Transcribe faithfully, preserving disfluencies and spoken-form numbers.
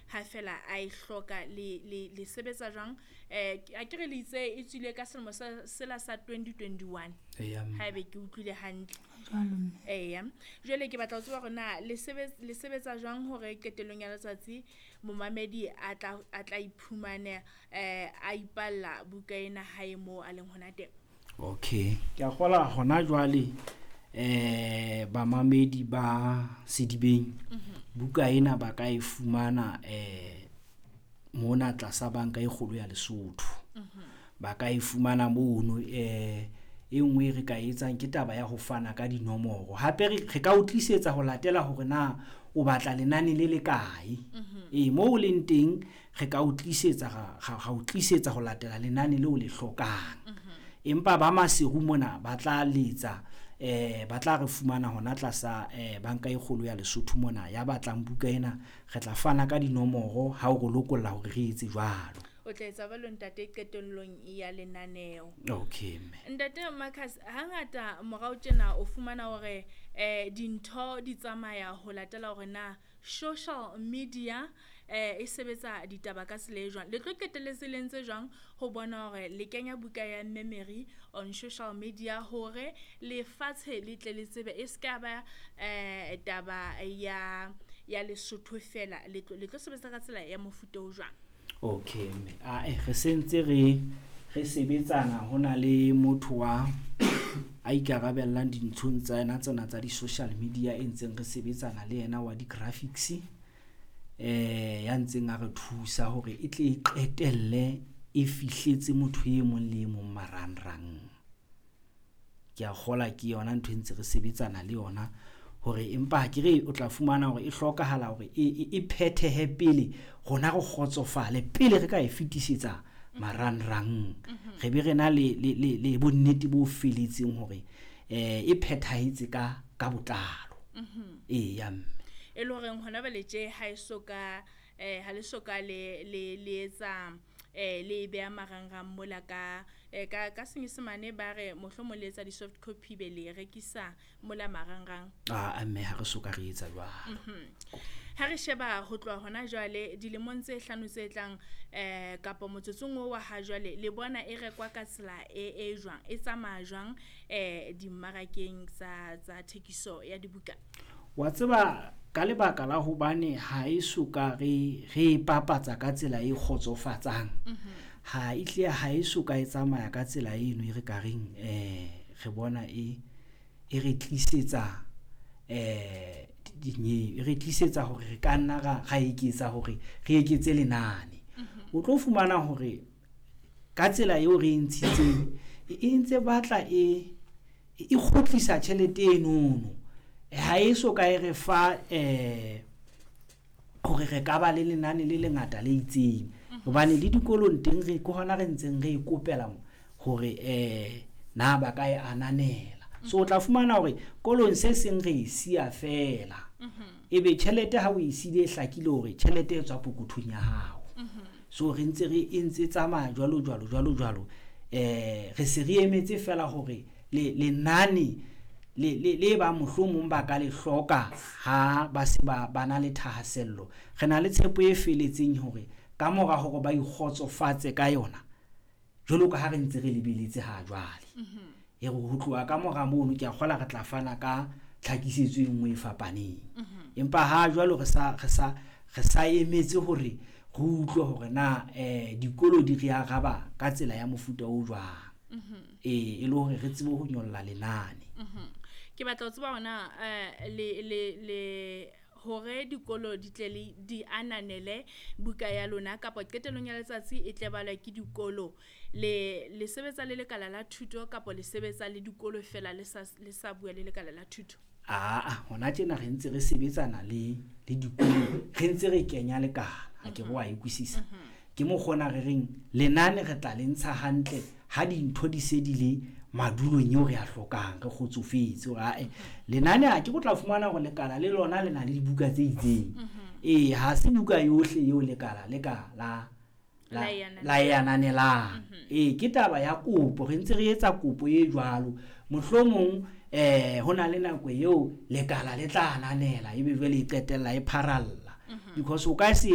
Ha fela a e hloka le le le sebetsa jwang? Eh akere le itse e tswile ka selemo sa sela sa twenty twenty one. Eya mme. Haebe ke utlwile hantle. Jwalo mme. Eya. Jwale ke batla ho tseba hore na le sebetsa le sebetsa jwang hore qetellong ya letsatsi momamedi a tla a tla iphumane eh a ipalla buka ena hae moo a leng hona teng. Okay, ke a kgola hona jwale eh bamamedi ba Sedibeng buka ena ba ka e fumana eh mona tlasa banka e kgolo ya Lesotho. Ba ka e fumana mono eh e nngwe e re ka etsang ke taba ya ho fana ka dinomoro. Hape re re ka o tlisetsa ho latela hore na o batla lenane le le kae. Ee, moo o leng teng re ka o tlisetsa ra ra o tlisetsa ho latela lenane leo le hlokang. Empa ba Maseru mona ba tla letsa eh ba tla re fumana hona tlasa eh banka e kgolo ya Lesotho mona. Ya batlang buka ena re tla fana ka dinomoro ha o re lokolla hore re etse jwalo. O tla etsa jwalo ntate qetellong ya lenaneo. Okay mme. Ntate Marcus, hangata morao tjena o fumana hore eh dintho di tsamaya ho latela hore na social media eh e sebetsa ditaba ka tsela e jwang. Le tlo qetelletse le entse jwang ho bona hore le kenya buka ya Memory on social media hore lefatshe le tle le tsebe e ska ba eh taba ya ya Lesotho fela. Le tlo le tlo sebetsa ka tsela ya mofuta o jwang? Okay mme, ae re sentse re re sebetsana hona le motho wa a ikarabellang dinthong tsa yena tsena tsa di-social media e ntseng re sebetsana le yena wa di-graphics eh ya ntseng a re thusa hore e tle e qetelle e fihletse motho e mong le e mong marangrang. Ke a kgola ke yona ntho e ntse re sebetsana le yona hore empa ha ke re o tla fumana hore e hlokahala hore e, e, e phethehe pele rona re kgotsofale pele re ka e fetisetsa marangrang. Re be re na le, le, le, le bonnete bo feletseng hore eh e phethahetse ka, ka botlalo. Eya mme. E le horeng hona jwale tje ha e so ka eh ha le so ka le le le etsa eh le beha marangrang mola ka eh, ka ka senyesemane ba re mohlomong le etsa di-soft copy be le rekisa mola marangrang. Ah mme ha re so ka re etsa jwalo. Ha re sheba ho tloha hona jwale dilemong tse hlano tse tlang eh kapa motsotsong oo wa ha jwale le bona e rekwa ka tsela e e jwang, e tsamaya jwang eh dimmarakeng tsa tsa thekiso ya dibuka? Wa tseba ka lebaka la hobane ha e so ka re re e papatsa ka tsela e kgotsofatsang, ha e hle ha e so ka e tsamaya ka tsela eno e re ka reng eh re bona e e re tlisetsa eh dinye e re tlisetsa hore re ka nna ra ra eketsa hore re eketse lenane. O tlo fumana hore ka tsela eo re e ntshitseng e ntse batla e e kgutlisa tjhelete enono. Ha e so ka e re fa eh hore re ka ba le lenane le lengata le itseng. Hobane le dikolong teng re ke hona re ntseng re e kopela hore eh na ba ka e ananela. So o tla fumana hore kolong se seng re e siya fela. Ebe tjhelete ha o e siile e hlakile hore tjhelete e tswa pokothong ya hao. So re ntse re e ntse tsamaya jwalo jwalo jwalo jwalo. Eh re se re emetse fela hore le lenane le le le ba mohlomong ba ka le hloka ha ba se ba ba na le thahasello. Re na le tshepo e feletseng hore ka mora hore ba ikgotsofatse ka yona jwalo ka ha re ntse re lebeletse ha jwale. E re ho tloha ka mora mono ke a kgola re tla fana ka tlhakisetso e nngwe e fapaneng. Empa ha jwalo re sa re sa re sa emetse hore re utlwe hore na eh dikolo di re araba ka tsela ya mofuta o jwang. Ee, e le hore re tsebe ho nyolla lenane. Ke batla ho tseba hona eh le le le hore dikolo di tle le di ananele buka ya lona kapa qetellong ya letsatsi e tle balwa ke dikolo. Le le sebetsa le lekala la thuto kapa le sebetsa le dikolo fela le sa le sa bua le lekala la thuto? Aa, hona tjena re ntse re sebetsana le le dikolo, re ntse re kenya lekala, ha ke re wa e utlwisisa. Ke mokgona re reng lenane re tla le ntsha hantle ha dintho di se di le madulong eo re a hlokang, re kgotsofetse hore ae lenane ha ke go tla fumana hore lekala le lona le na le dibuka tse itseng. Ee, ha se buka yohle eo lekala le ka la la La e ananelang. la e ananelang. Ee, ke taba ya kopo, re ntse re etsa kopo e jwalo. Mohlomong eh ho na le nako eo lekala le tla ananela ebe jwale e qetella e pharalla. Because o ka se